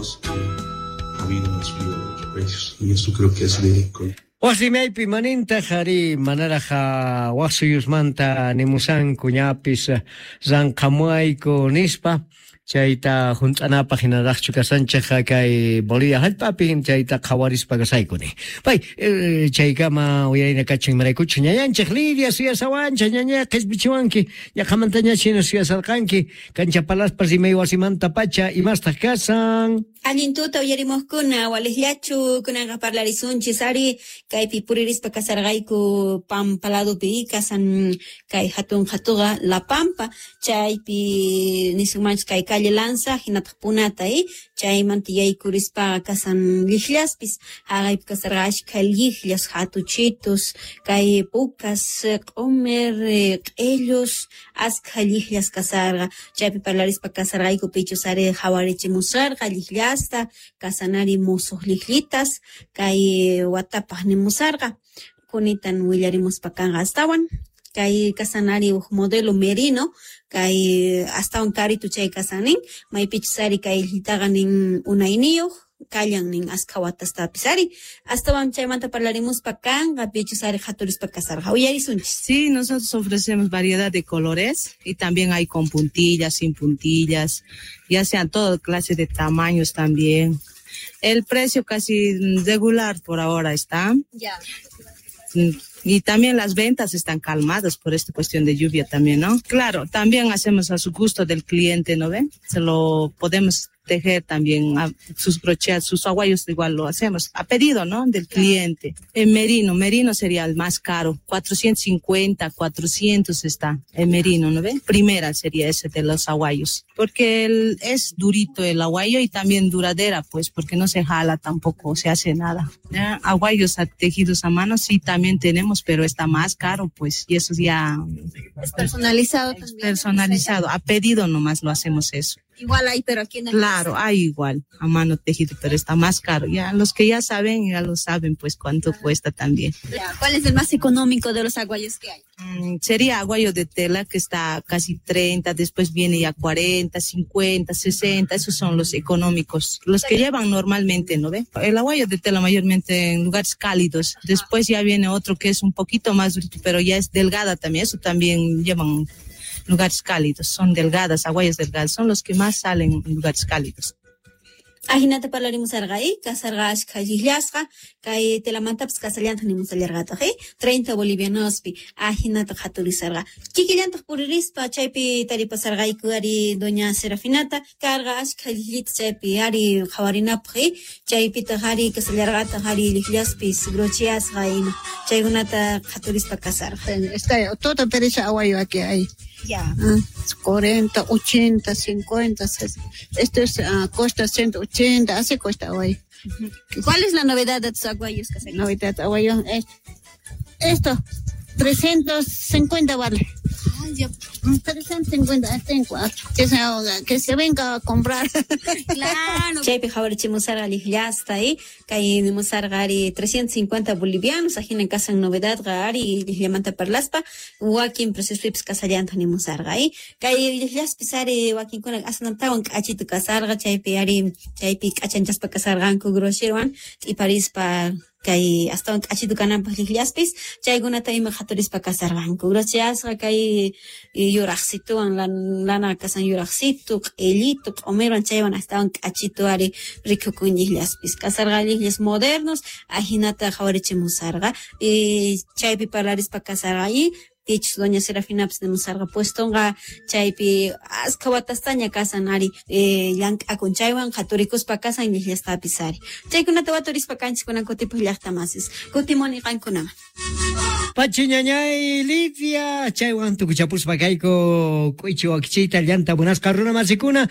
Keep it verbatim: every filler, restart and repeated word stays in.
dos ha habido una subida de los precios y eso creo que es verídico. Wasimaypi manintaq ari manaraj waj suyusmanta nimusanku ñapis ranqhamuayku nispa chayta junt'anapaq hinaraqchu kasanchej kay Bolivia hallp'api chayta qhawarispa kasayku ni. Pay chaykama uyarina kachin imaraykuchus ñañanchej Lidia suyasawanchej ñañay qhispichiwanki ñaqhamantaña china suyasarqanki kancha palaspa rimay wasimanta pacha imastaq kasan. Allin tuta uyarimuqkuna waliqllachu kunanqa parlarisunchis ari kaypi puririspa kasarqayku Pampa ladopi kasan kay hatun qhatuqa La Pampa chaypi nisunmanchis kay calle Lanza hinataq Punata eh chaymanta yaykurispaqa kasan llikllaspis haqaypi kasarqa ashkha lliqllas hatuchitus kay pukas q'umir q'illus askha lliqllas kasarqa chaypi parlarispa kasarqayku pichus ari qhawarichimusarqa lliqllasta kasanari musuq lliqllitas kay watapaq nimusarqa kunitan willarimuspa kanqa astawan kay kasanari uj modelo merino kay astawan karitu chay kasanin maypichus ari kay llillitaqa nin unayniyuq kallan nin askha watastapis ari astawan chaymanta parlarimuspa kanqa pichus ari qhaturispa kasarqa uyarisunchis. Sí, nosotros ofrecemos variedad de colores y también hay con puntillas, sin puntillas, ya sean toda clase de tamaños también. El precio casi regular por ahora está. Ya. Y también las ventas están calmadas por esta cuestión de lluvia también, ¿no? Claro, también hacemos a su gusto del cliente, ¿no ven? Se lo podemos tejer también a sus brochets, sus aguayos igual lo hacemos a pedido, ¿no? Del cliente. El merino, merino sería el más caro, cuatrocientos cincuenta, cuatrocientos está el merino, ¿no ven? Primera sería ese de los aguayos, porque el, es durito el aguayo y también duradera, pues, porque no se jala tampoco, se hace nada. ¿Ya? Aguayos a, tejidos a mano sí también tenemos, pero está más caro, pues, y eso ya... Es personalizado también. Personalizado, a pedido nomás lo hacemos eso. Igual hay, pero aquí en el Claro, hay igual, a mano tejido, pero está más caro. Ya los que ya saben, ya lo saben, pues cuánto cuesta también. Ya, ¿cuál es el más económico de los aguayos que hay? Mm, sería aguayo de tela, que está casi treinta, después viene ya cuarenta, cincuenta, sesenta, esos son los económicos, los que llevan normalmente, ¿no ve? El aguayo de tela mayormente en lugares cálidos, después ya viene otro que es un poquito más durito, pero ya es delgada también, eso también llevan lugares cálidos, son delgadas, aguayas delgadas, son los que más salen en lugares cálidos. Ajinata parlarimusarqa eh, kasarqa ashkha lliqllasqa kay telamantapis kasallantaq nimusallarqataq eh, treinta bolivianospi ajinata qhaturisarqa kikillantaq puririspa chaypi taripasarqayku ari doña Serafinata karqa ashkha lliqllita chaypi ari qhawarinapaq eh, chaypitaq ari kasallarqataq ari lliqllaspis brocheasqa ima chaykunata qhaturispa kasarqa. Está todo pereza aguayo aquí hay. Ya. Ah, cuarenta, ochenta, cincuenta, esto es, uh, cuesta ciento ochenta, así cuesta hoy. ¿Cuál es la novedad de tus aguayos? Novedad aguayo, es, esto, trescientos cincuenta vale. Ah, ya. trescientos cincuenta, tengo, que se, que se venga a comprar. Claro. Chaypi qhawarichimusarqa lliqllasta, eh, kay nimusarqa ari trescientos cincuenta bolivianos, ajina kasan novedadqa ari lliqllamanta parlaspa, wakin preciospipis kasallantaq nimusarqa, eh, kay lliqllaspis ari wakinkuna asnantawan k'achitu kasarqa, chaypi ari chaypi k'achanchaspa kasarqanku grosherwan t'iparispa kay astawan k'achitu kananpaq lliqllaspis, chaykunata ima qhaturispa kasarqanku. Brocheasqa kay yuraqsituwan lana kasan yuraqsitu, q'illitu, q'umirwan chaywan astawan k'achitu ari rikukun lliqllaspis. Kasarqa lliqllas modernos, ajinata qhawarichimusarqa. Y chaypi parlarispa kasarqa y pichus doña Serafinapis nimusarqa puestonqa chaypi askha watastaña kasan ari eh, llank'akun chaywan qhaturikuspa kasan lliqllastapis ari. Chaykunata waturispa kanchis kunan kutipuq llaqtamasis. Kutimuni qankunaman. Pachi ñañay Lidia, chaywan tukuchapuspa kayku k'uychi wakichiyta llanta munasqa runa masikuna.